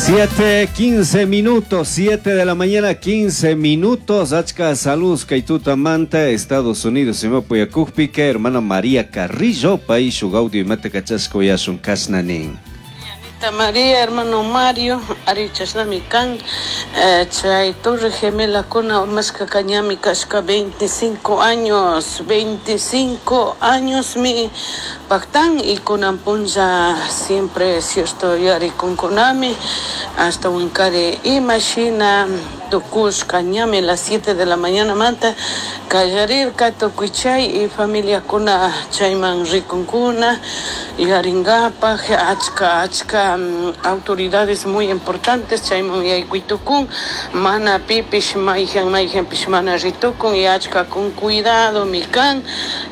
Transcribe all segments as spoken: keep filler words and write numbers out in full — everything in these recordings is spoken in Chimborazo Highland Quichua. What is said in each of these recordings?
Siete, quince minutos, siete de la mañana, quince minutos. Achka saludos, kay tutamanta, Estados Unidos, Sima hermana María Carrillo, pay shuk audio imata kachashka uyashun kashna nin. María, hermano Mario, ari chashnami kan, eh, chay Torre Gemelakuna urmashka ñami kashka veinticinco años, veinticinco años mi paktan y kunan punlla siempre cierto yarikunkunami hasta wankari imashina tukushka ñami las siete de la mañana manta kallarirka tukuy chay y familiakuna chayman rikunkuna yuyarinkapak achka achka autoridades muy importantes chayman yaykuy tukun mana pipish mayjan mayjanpish mana ritukun y achka con cuidado mi kan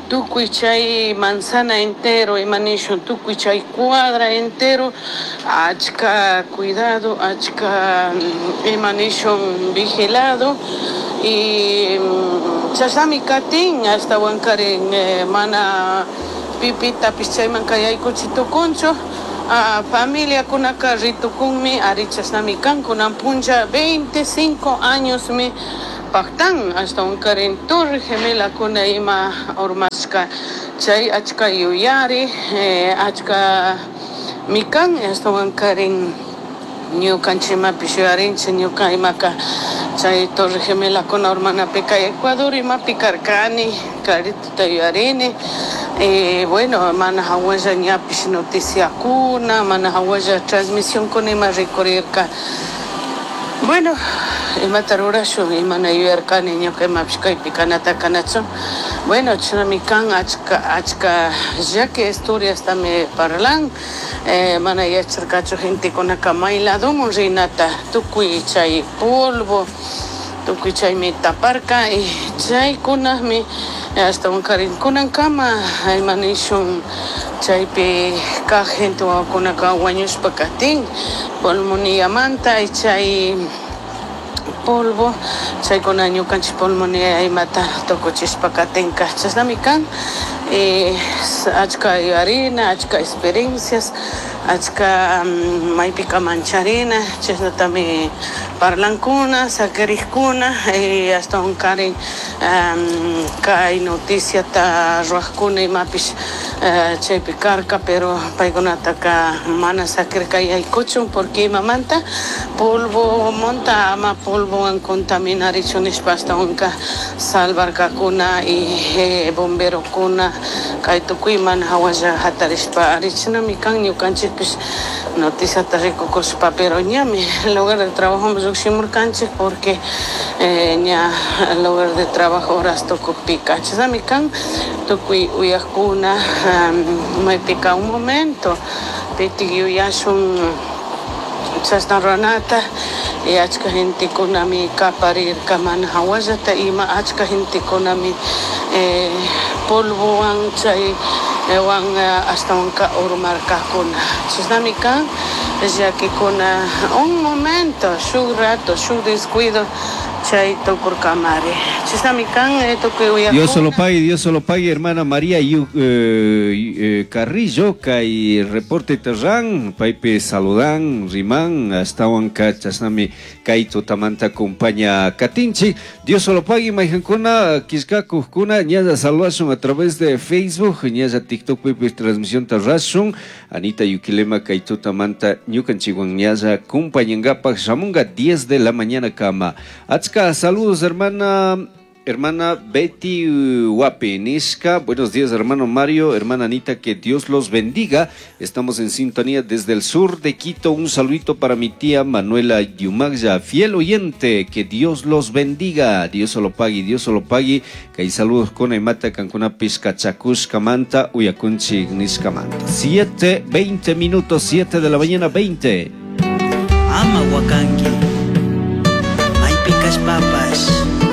tukuy chay manzana entero ima nishun tukuy chay cuadra entero achka cuidado achka ima nishun vigilado y chashnami katin hasta wankarin eh, mana pipitapish chayman yaykuchi tukunchu. Uh, familiakunaka ritukunmi ari chashnami kan kunan punlla veinticinco años mi paktan hasta wankarin Torre Gemelakuna ima urmashka chay achka yuyari eh, achka mikan hasta wankarin ñukanchikmapish yuyarinchik ñuka imaka chay Torre Gemelakuna urmanapika Ecuador imapi karkani clarito yuyarini. Eh, bueno, mana hawalla ñapish noticiakuna mana hawalla transmisionkuna ima rikurirka. Bueno, imata rurashun imana yuyarkani ñuka imapish kaypi kanata kanachun. Bueno, chashnami kan achka achka llaki historiastami parlan eh, mana yacharkachu gentekunaka may ladomun rinata tukuy chay polvo tukuy chaymi taparka y chaykunami hasta wankarin kunankama ima nishun chaypi kaq gente wawakunaka wañushpa katin pulmoniamanta y chay polvo chaykuna ñukanchik pulmonía imata tukuchishpa katinka chashnami kan eh, achka yuyarina achka experiencias achka um, maypika mancharina chashnatami parlankuna sakirikkuna y hasta wankarin um, kay noticiata ruwaqkuna imapish uh, chaypi karka pero paykunataka mana sakirka yaykuchun porque imamanta polvo monta ama polvowan contaminarichun nishpa hasta wanka salvarkakuna y eh, bomberokuna kay tukuy mana hawalla hatarishpa arichinami kan ñukanchikpish noticiata rikukushpa pero ñami lugar de trabajo lluqshimurkanchik porque eh, ña lugar de trabajo horas tukukpika chashnami kan tukuy uyakuna um, maypika un momento pitik yuyashun chashna ruranata y achka gentekunami kaparirka mana hawallata ima achka gentekunami eh, polvowan chay wan hasta wanka urmarkakuna chashnami kan llakikuna un momento shuk rato shuk descuido chay tukurkamari chashnami kan tukuy uyakuna. Dios solo pague, Dios solo pague, hermana María Yu, eh, eh, Carrillo, kay reporte terran, paypi saludan, riman, ashtawanka chashnami kay tutamanta acompaña katinchik. Dios solo pague, mayjankuna, kishkakujkuna, ñalla saludashun a través de Facebook, ñalla TikTok pipi transmisión tarrashun, Anita Yuquilema kay tutamanta ñukanchikwan ñalla acompañankapak shamunga diez de la mañana kama. Achka saludos, hermana Hermana Betty Huapi Nishka, buenos días hermano Mario, hermana Anita, que Dios los bendiga. Estamos en sintonía desde el sur de Quito. Un saludito para mi tía Manuela Yumagya, fiel oyente, que Dios los bendiga. Dios solo pague, Dios solo pague. Que hay saludos con Emata Cancuna Pizca Chacushka Manta, Uyakunchi Nishka Manta. siete, veinte minutos, siete de la mañana, veinte. Ama wakanki, maypi kashpapash.